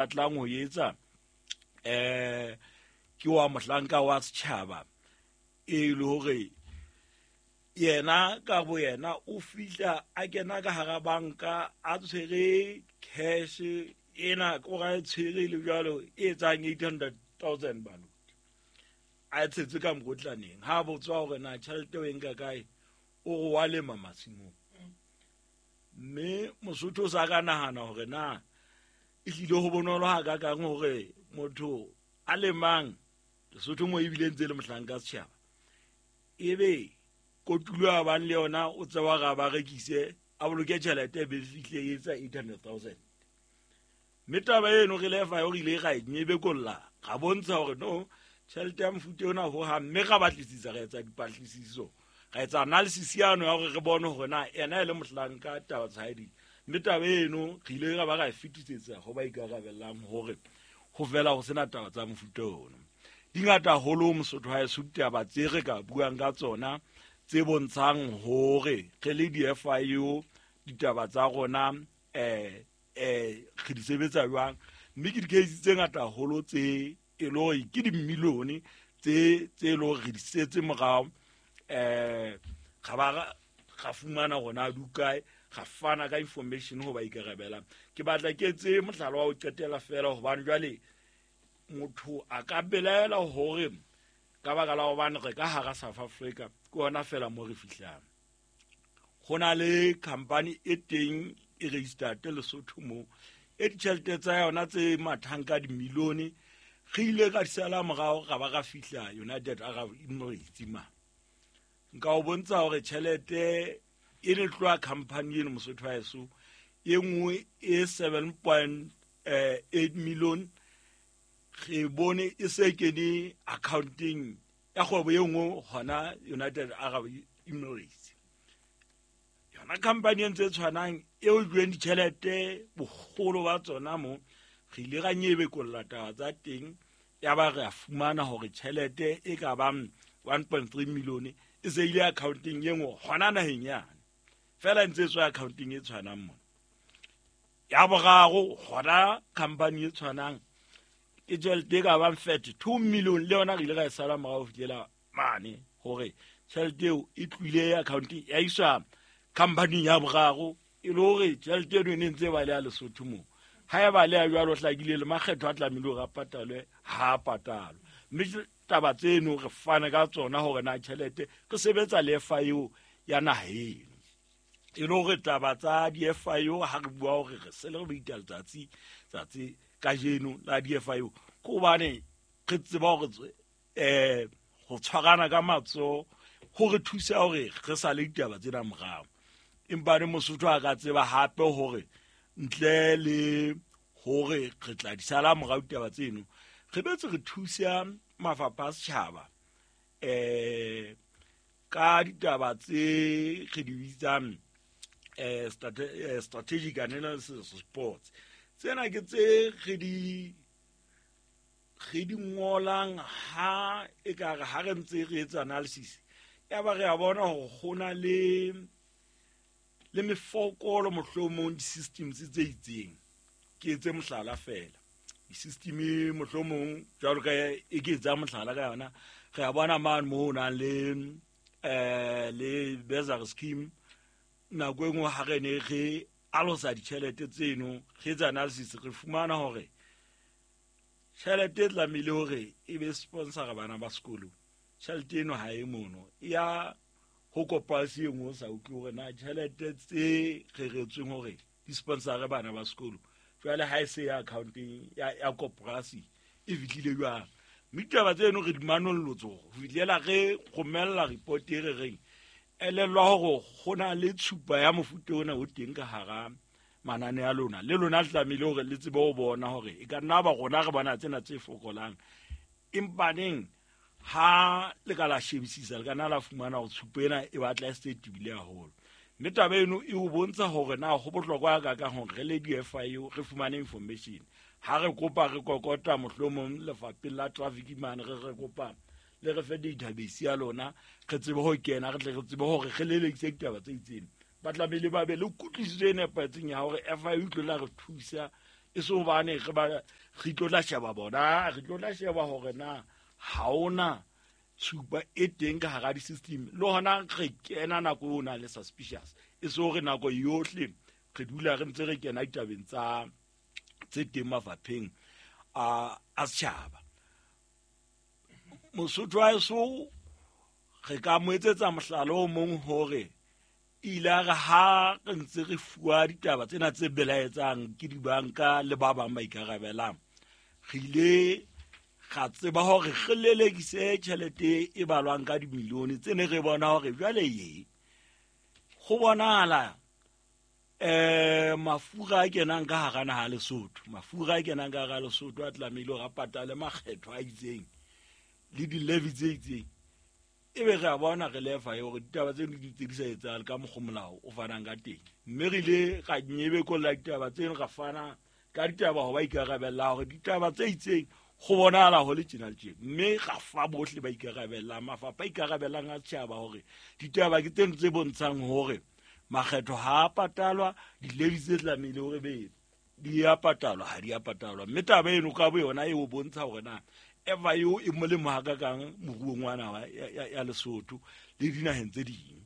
Batlang ho etsa ke wa mohlanka wa setjhaba e le hore yena ka bo yena o fihla a kena ka hara banka a tshwere cash ena o ra e tshwere le jwalo e etsang 800,000 baluti a e tshetse ka mokotlaneng. Ha botswa hore na tjhelete o e nka kae, o re wa lema masimong. Mme Mosotho o sa ka nahana hore na e hlile ho bonolo ha ka kang hore motho a lemang Lesotho mo ebile ntse le mohlanka setjhaba ebe kotulo a bang le yona o tseba ga ba rekise a boloke tjhelete be fihle e etsa 800,000. Mme taba eno re lefa yo re ile ra e nyebekolla ra bontsha hore no tjhelete ya mofuta ona ho hang, mme ra batlisisa ra etsa dipatlisiso ra etsa analysis yano ya hore re bone hore na ena e le mohlanka taba tsa hae di. Mme taba eno re ile ra ba ra e fetisetsa ho ba ikarabellang hore ho fela ho sena taba tsa mofuta ono. Di ngata haholo Mosotho ha eso ditaba tse re ka buang ka tsona tse bontshang hore re le di-FIU ditaba tsa rona re di sebetsa jwang. Mme ke di-case tse ngata haholo tse e le hore ke dimilione tse e le hore re di setse morao, ra ba ra fumana hore na di kae, ra fana ka information ho ba ikarabelang. Ke batla ke etse mohlala wa ho qetela feela hobane jwale motho a ka belaela hore ka baka la hobane re ka hara South Africa ke hona feela mo re fihlang. Ho na le company e teng e registered Lesotho mo e ditjhelete tsa yona tse mathang ka dimilione re ile ka di sala morao ra ba ra fihla United Arab Emirates ma. Nka o bontsha hore tjhelete e ne tloha company eno Mosotho wa heso e nngwe e 7.8 million re bone e se kene accounting ya kgwebo e nngwe hona United Arab Emirates. Yona company e ntse e tshwanang eo jweng ditjhelete boholo ba tsona mo re ile ra nyebekolla taba tsa teng ya ba re a fumana hore tjhelete e ka bang 1.3 million e se ile accounting e nngwe hona naheng yane fela ntse e tswa accounting e tshwanang mona. Ya boraro hona company e tshwanang ke tjhelete e ka bang 32 million le yona re ile ra e sala morao ho fihlela mane hore tjhelete eo e tlohile accounting ya iswa company ya boraro e le hore tjhelete eno e ne ntse ba le ya Lesotho moo. Ha e ba le ya jwalo hlakile le makgetho a tlamehile hore a patalwe ha a patalwe. Mme taba tseno re fane ka tsona hore na tjhelete re sebetsa le FIU ya naha eno. E le hore taba tsa di-FIU ha re bua hore re se le re beita letsatsi tsatsi kajeno la di-FIU ke hobane re tseba hore ho tshwarana ka matsoho ho re thusa hore re sale ditaba tsena morao. Empa ne Mosotho a ka tseba hape hore ntle le hore re tla di sala morao ditaba tseno re betse re thusa mafapha a setjhaba ka ditaba tse re di bitsang strategic analysis reports. Tsena ke tse re di ngolang ha e ka re ha re ntse re etsa analysis ya ba re a bona hore ho na le mefokolo mohlomong di-systems tse itseng. Ke etse mohlala feela di-system mohlomong jwalo ka e ke etsa mohlala ka yona re a bona mane mo ho nang le bursary scheme nako e nngwe ha re ne re alosa ditjhelete tseno re etsa analysis re fumana hore tjhelete e tlamehile hore e be sponsor bana ba sekolo tjhelete eno ha e mono ya ho koporasi e nngwe o sa utlwe hore na tjhelete tse reretsweng hore di sponsor bana ba sekolo jwale ha e se ya accounting ya koporasi e fihlile jwang. Mme ditaba tseno re di manollotse ho fihlela re romella report e re reng elellwa hore ho na le tshupa ya mofuta ona o teng ka hara manane a lona le lona le tlamehile hore le tsebe ho bona hore e ka nna ba rona re bona tsena tse fokolang empaneng ha le ka la shebisisa le ka nna la fumana hore tshupo ena e batla e se tebile haholo. Mme taba eno e o bontsha hore na ho bohlokwa ka kang hore re le di-FIU re fumane information. Ha re kopa re kokota mohlomong lefapheng la traffic mane re kopa le re fe database ya lona re tsebe ho kena re tle re tsebe hore re lelekise ditaba tse itseng. Ba tlamehile ba be le kutlwisiso e nepahetseng ya hore FIU e tlo la re thusa E se hobane re ba re tlo tla sheba bona, re tlo tla sheba hore na ha ona tshupa e teng ka hara di-system, le hona re kena nako eo na le suspicious, e se hore nako yohle re dula re ntse re kena ditabeng tsa tse teng mafapheng a setjhaba. Mosotho wa eso re ka mo etsetsa mohlala o mong hore ile a re ha re ntse re fuwa ditaba tsena tse belaetsang ke dibanka le ba bang ba ikarabelang, re ile ra tseba hore re lelekise tjhelete e balwang ka dimilione tse ne re bona hore jwale ye go bonahala mafura a kenang ka hara naha Lesotho, mafura a kenang ka hara Lesotho a tlamehile hore a patale makgetho a itseng le di-levy tse itseng. Ebe re a bona re lefa e hore ditaba tseno di ntse di sa etsahale ka mokgwa molao o fanang ka teng, mme re ile ra nyebekolla ditaba tseno, ra fana ka ditaba ho ba ikarabellang hore ditaba tse itseng go bonahala ho le tjena le tjena, mme ra fa bohle ba ikarabellang, mafapha a ikarabellang a setjhaba hore ditaba ke tseno tse bontshang hore makgetho ha a patalwa, di-levy tse tlamehile hore be di a patalwa ha di a patalwa. Mme taba eno ka bo yona e o bontsha hore na eva eo e molemo hakakang moruong wa naha ya Lesotho le dinaheng tse ding.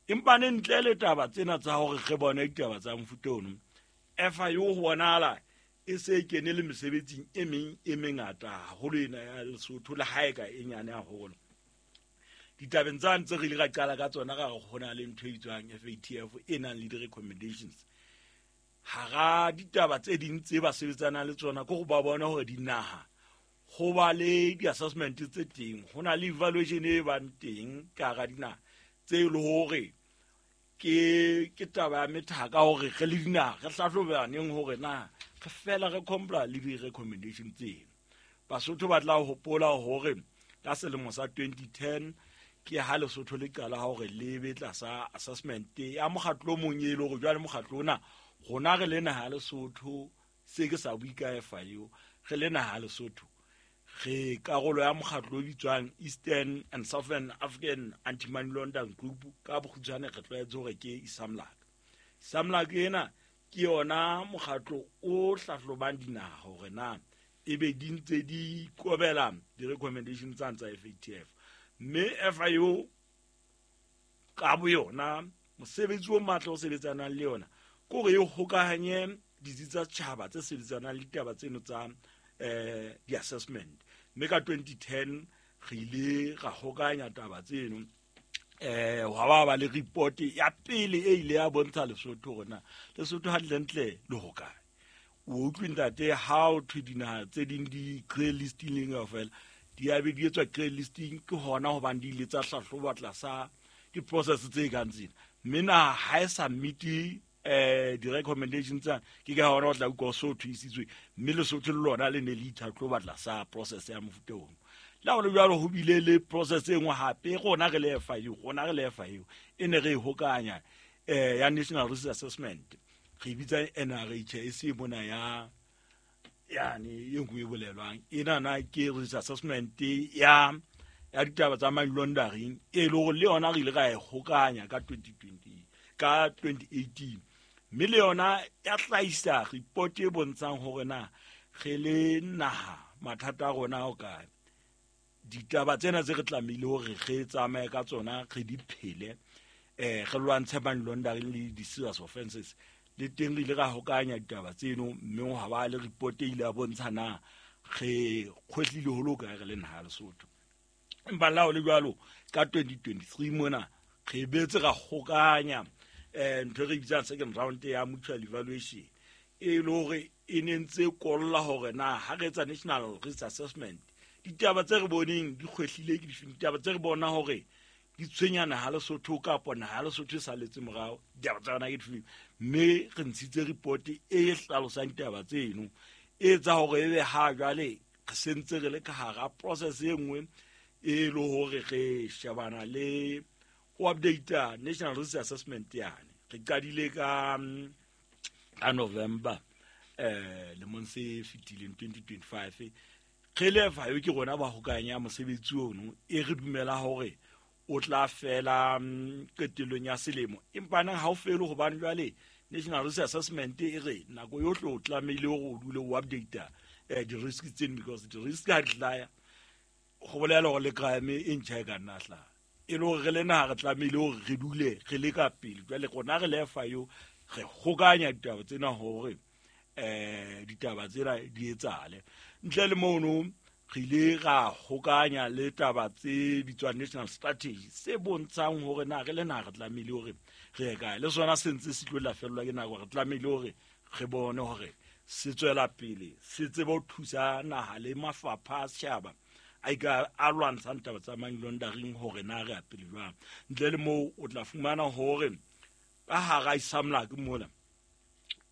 Empa ne ntle le taba tsena tsa hore re bone ditaba tsa mofuta ono, efa eo ho bonahala e se e kene le mesebetsing e meng e mengata haholo ena ya Lesotho, le ha e ka e nyane haholo. Ditabeng tsa ntse re ile ra qala ka tsona, ra re ho na le ntho e bitswang FATF e nang le di-recommendations. Hara ditaba tse ding tse ba sebetsanang le tsona ke go ba bona hore dinaha go ba le di-assessment tse teng, ho na le evaluation e bang teng ka hara dinaha tse e le hore ke taba ya methaka hore re le dinaha re hlahlobaneng hore na re fela re comply le di-recommendation tseno. Basotho ba tla hopola hore ka selemo sa 2010 ke ha Lesotho le qala hore le be tlasa assessment ya mokgatlo o mong, e le hore jwale mokgatlo ona rona re le naha Lesotho, se ke sa bue ka FIU, re le naha Lesotho re karolo ya mokgatlo o bitswang Eastern and Southern African Anti-Money Laundering Group, ka bokgutshwane re tlwaetse hore ke ISAMLAC. ISAMLAC ena ke yona mokgatlo o hlahlobang dinaha hore na ebe di ntse di kobela di-recommendation tsa tsa FATF. Mme FIU ka bo yona mosebetsi o matla o sebetsanang le yona ke hore e hokahanye ditsi tsa setjhaba tse sebetsanang le ditaba tseno tsa di-assessment. Mme ka 2010 re ile ra hokahanya taba tseno, hwa ba le report ya pele e ile ya bontsha Lesotho hore na Lesotho hantlentle le hokae. O utlwe ntate, ha o thwe dinaha tse ding di grey listing kaofela di a be di etswa grey listing, ke hona hobane di ile tsa hlahloba tlasa di-process tse kang tsena, mme naha ha e sa meet-e di-recommendation tsena, ke ka hona o tla utlwa so thusitswe, mme Lesotho le lona le ne le itlhatlhoba tlasa process ya mofuta ono. Le ha ho le jwalo, ho bile le process e nngwe hape rona re le FIU, rona re le FIU e ne re e hokanya ya National Risk Assessment, re bitsa NRH, e se mona ya yane e nngwe e bolelwang ena na ke risk assessment ya ditaba tsa money laundering, e le hore le yona re ile ra e hokanya ka 2020, ka 2018, mme le yona ya hlahisa report e bontshang hore na re le naha mathata a rona a hokae. Ditaba tsena tse re tlamehile hore re tsamaye ka tsona, re di phele, re lwantshe money laundering le di-serious offences, le teng re ile ra hokanya ditaba tseno, mme ha ba le report e ile ya bontsha na re kgwehlile ho le kae re le naha Lesotho. Empa le ha ho le jwalo, ka 2023 mona re betse ra hokanya ntho e re bitsang second round ya mutual evaluation, e le hore e ne ntse kolla hore na ha re etsa national risk assessment ditaba tse re boneng di kgwehlile ke difeng, ditaba tse re bona hore di tshwenya naha Lesotho kapa naha Lesotho e saletse morao, ditaba tsa yona ke difeng. Mme re ntshitse report e hlalosang ditaba tseno, e etsa hore ebe ha jwale re sentse re le ka hara process e nngwe e le hore re shebana le ho update national risk assessment yane. Re qadile ka November lemong se fetileng 2025, re le FIU ke rona ba hokanya mosebetsi ono, e re dumela hore o tla fela qetellong ya selemo, empa nang ha o fele hobane jwale National Risk Assessment e re nako yohle o tlamehile hore o dule o update di-risk tseno, because di-risk ha di hlaya go bolela gore le crime e ntšha e ka nna hlaha. E le gore re le naga re tlamehile gore re dule re le ka pele. Jwale rona re le FIU re kgokanya ditaba tsena hore ditaba tsena di etsahale. Ntle le mono re ile ra kgokanya le taba tse bitswang national strategy, se bontshang hore na re le naha re tlamehile hore re ye kae. Le sona se ntse se tlo lafellwa ke nako, re tlamehile hore re bone hore se tswela pele, se tsebe ho thusa naha le mafapha a setjhaba a ika a lwantshang taba tsa money laundering hore na re ya pele jwang. Ntle le moo o tla fumana hore ka hara ESAMLAC mola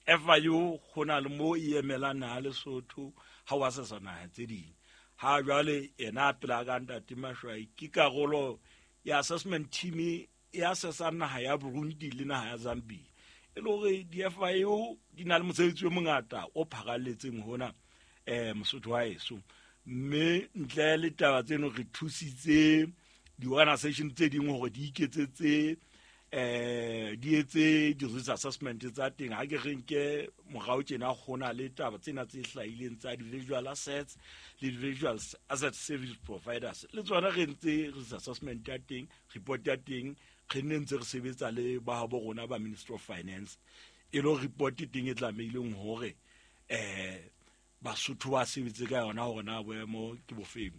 FIU go na le mo e emelang naha Lesotho ha wa sesa naha tse ding. Ha jwale yena a pela ka ntate Mashwai ke karolo ya assessment team e assessang naha ya Burundi le naha ya Zambia. E le hore di-FIU di na le mosebetsi o mongata o pharalletseng hona Mosotho wa heso. Mme ntle le taba tseno re thusitse di-organization tse ding hore di iketsetse di etse di-risk assessment tsa teng. Ha ke re nke morao tjena ho na le taba tsena tse hlahileng tsa di-visual assets le di-visual asset service providers, le tsona re ntse risk assessment ya teng, report ya teng re nne ntse re sebetsa le ba habo rona ba Ministry of Finance. E le report teng e tlamehileng hore Basotho ba sebetse ka yona hore na boemo ke bofeng.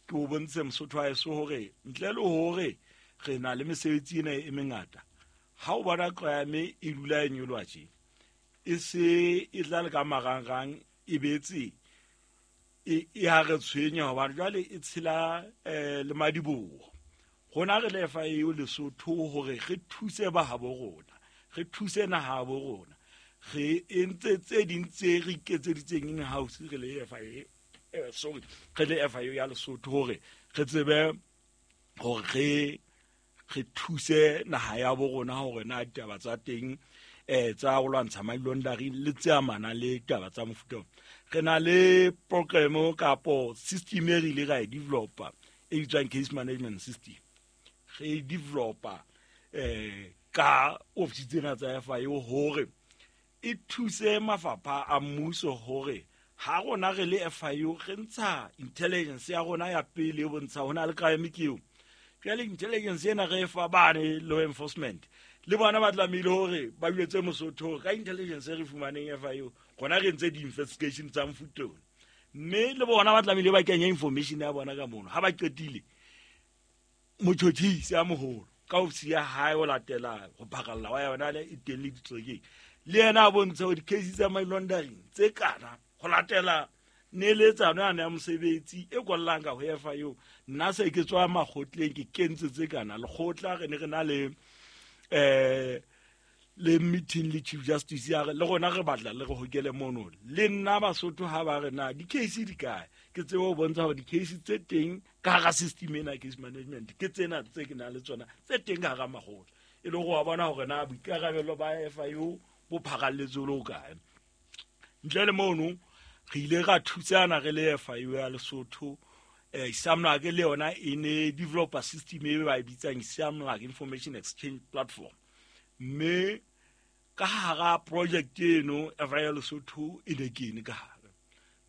Ke o bontshe Mosotho wa heso hore ntle le hore re na le mesebetsi ena e mengata, ha o bona crime e dula e nyoloha tje, e se e tla le ka marangrang e betse e ha re tshwenya, hobane jwale e tshela le madiboho. Rona re le FIU Lesotho hore re thuse ba habo rona, re thuse naha bo rona, re entse tse ding tse re iketseditseng in house re le FIU, sorry, re le FIU ya Lesotho hore re tsebe hore re thuse naha ya bo rona hore na ditaba tsa teng tsa ho lwantsha money laundering le tse amanang le taba tsa mofuta ona. Re na le program kapo system e re ile ra e developa e bitswang case management system. Re e developa ka office tsena tsa FIU hore e thuse mafapha a mmuso hore ha rona re le FIU re ntsha intelligence ya rona ya pele e bontsha ho na le crime ke eo. Jwale intelligence ena re e fa bane law enforcement, le bona ba tlamehile hore ba jwetse Mosotho ka intelligence e re fumaneng FIU, rona re entse di-investigation tsa mofuta ona. Mme le bona ba tlamehile ba kenye information ya bona ka mono. Ha ba qetile, motjhotjhisi a moholo ka ofisi ya hae ho latela ho phakalla wa yona le e teng le ditokeng, le yena a bontshe hore di-case tsa money laundering tse kana ho latela neeletsano yane ya mosebetsi e kwallang ka ho FIU. Nna se ke tswa makgotleng ke kentse tse kana lekgotla, re ne re na le le meeting le Chief Justice ya re le rona re batla le re hokele mono. Le nna Basotho ha ba re na di-case di kae, ke tsebe ho bontsha hore di-case tse teng ka hara system ena case management ke tsena tse ke nang le tsona tse teng ka hara makgotla. E le hore wa bona hore na boikarabelo ba FIU bo pharalletse le ho kae. Ntle le mono re ile ra thusana re le FIU ya Lesotho. ESAMLAC le yona e ne developer system e ba e bitsang ESAMLAC Information Exchange Platform. Mme ka hara project eno FIU Lesotho e ne kene ka hare.